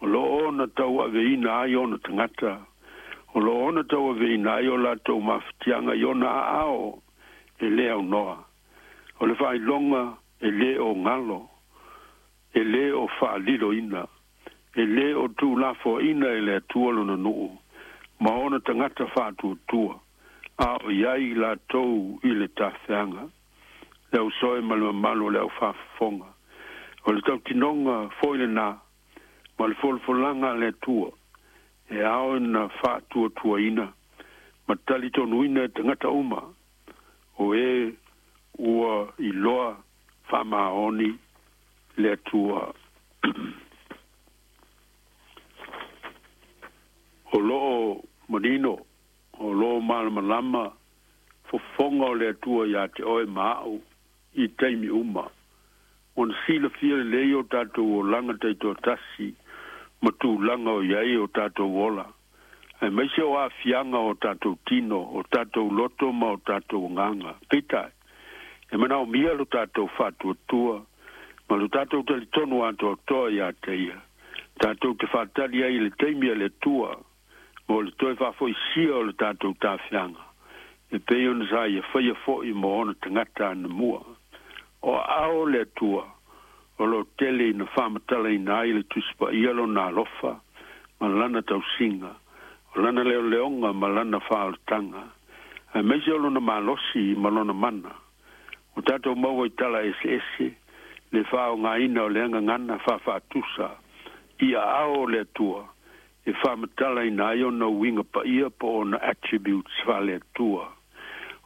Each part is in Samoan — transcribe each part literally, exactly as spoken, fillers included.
O loo ona tauaveina ai ona tagata. O loo ona tauaveina ai o latou mafatiaga i ona aao e lē aunoa. O le faailoga e lē o galo, e lē o faaliloina, e lē o tuulafoaina e le Atua lona nuu ma ona tagata faatuatua, a o i ai i latou i le tafeaga. Le ausoe ma le mamalu o le aufafofoga. O le tautinoga foi lenā ma le folafolaga a le Atua e ao ina faatuatuaina ma talitonuina e tagata uma o e ua iloa faamaoni le Atua. O loo manino, o loo malamalama fofoga o le Atua iā te oe ma a'u i taimi uma. Ona silafia lelei o tatou olaga taitoatasi ma tulaga o i ai o tatou ola, aemaise o aafiaga o tatou tino, o tatou loto ma o tatou agaga. Peitai, e manaomia lo tatou faatuatua ma lo tatou talitonu atoatoa iā te ia, tatou te faatali ai i le taimi a le Atua mo le toe faafoisia o le tatou tafeaga, e pei ona sa ia faia fo'i mo ona tagata anamua. O aao o le Atua o loo tele ina faamatalaina ai le Tusi Paia lona alofa ma lana tausiga, o lana leoleoga ma lana faaolataga, aemaise o lona malosi ma lona mana. Ua tatou maua i tala eseese le faaaogaina o le gagana faafaatusa i aao o le Atua e faamatalaina ai ona uiga paia po o ona attributes faale-Atua.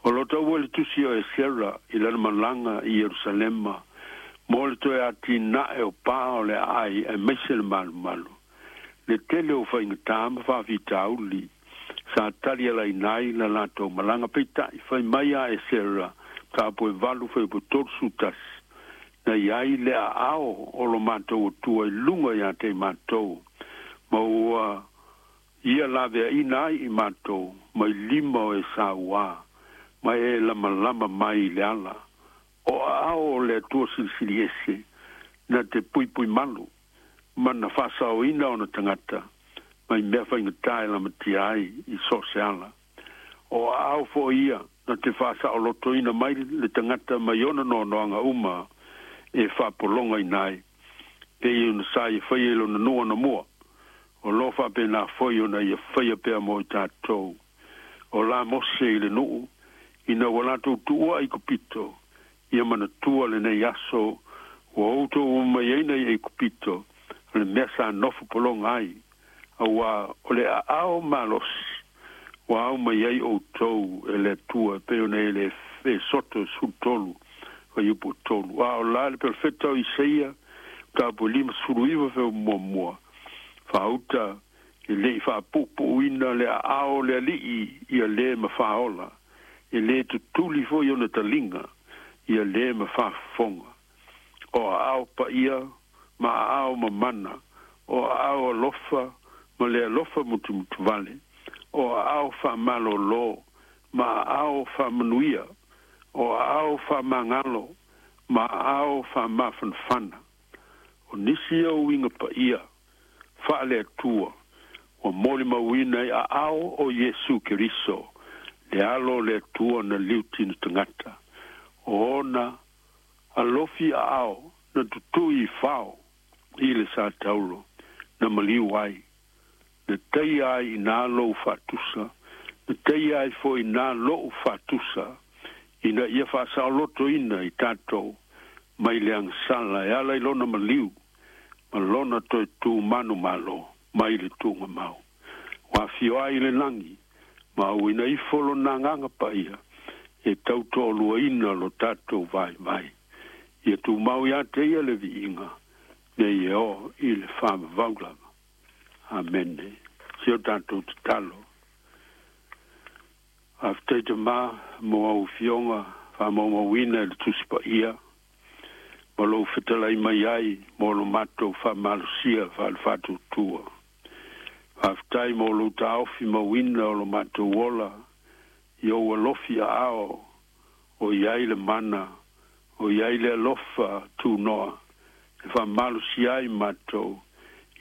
O lo taua i le tusi o Esera i lana malaga i Ierusalema mo le toe atinae o pā o le aai aemaise le malumalu, le tele o faigata ma faafitauli sa talialaina ai la latou malaga. Peitai, fai mai a Esera mataupu e valu fuaiupu tolusifu tasi, na i ai le aao o lo matou Atua i luga iā te i matou, ma ua ia laveaina ai i matou mai lima o e sauā, ma e lamalama mai i le ala. O aao o le Atua Silisili Ese na te puipui malu ma na faasaoina ona tagata mai mea faigata e lamatia ai i so o se ala. O aao foi ia na te faasaolotoina mai le tagata mai ona noanoaga uma e faapologaina ai, pei ona sa ia faia i lona nuu anamua, o loo faapena foi ona ia faia pea mo i tatou. O la Mose i le nuu, ina ua latou tuua Aikupito, ia manatua lenei aso ua outou omai ai nei Aikupito, o le mea sa nofo pologa ai, auā o le aao malosi ua ao mai ai outou e le Atua, e pei ona e le Esoto sefulu tolu fuaiupu tolu. A o la le perofeta o Isaia mataupu e limasefulu iva fuaiupu muamua, faauta e lei faapuupuuina le aao o le Alii ia lē ma faaola, e lē tutuli foi ona taliga ia lē ma faafofoga. O aao paia ma aao mamana, o aao alofa ma le alofa mutumutuvale, o aao faamalōlō ma aao faamanuia, o aao faamagalo ma aao faamafanafana. O nisi ia uiga paia faale-Atua ua molimauina i aao o Iesu Keriso, le Alo o le Atua na liutina tagata. O ona alofi aao na tutui i fao i le sa taulo na maliu ai, na taia ai i nā lou faatusa, na taia ai foi i nā lo'u faatusa, ina ia faasaolotoina i tatou mai le agasala e ala i lona maliu ma lona toe tu manumalo mai le tuugamau. Ua afio ai i le lagi ma auina ifo lona Agaga Paia e tautoaluaina lo tatou vaivai. Ia tumau iā te ia le viiga nei e oo i le faavavau lava. Amene. Si o tatou tatalo. Faafetai Tamā mo au afioga faamaumauina i le Tusi Paia ma lou fetalai mai ai mo lo matou faamalosia faale-faatuatua. Faafetai mo lou taofi mauina o lo matou ola i ou alofi aao o i ai le mana, o i ai le alofa tunoa e faamalosia ai matou.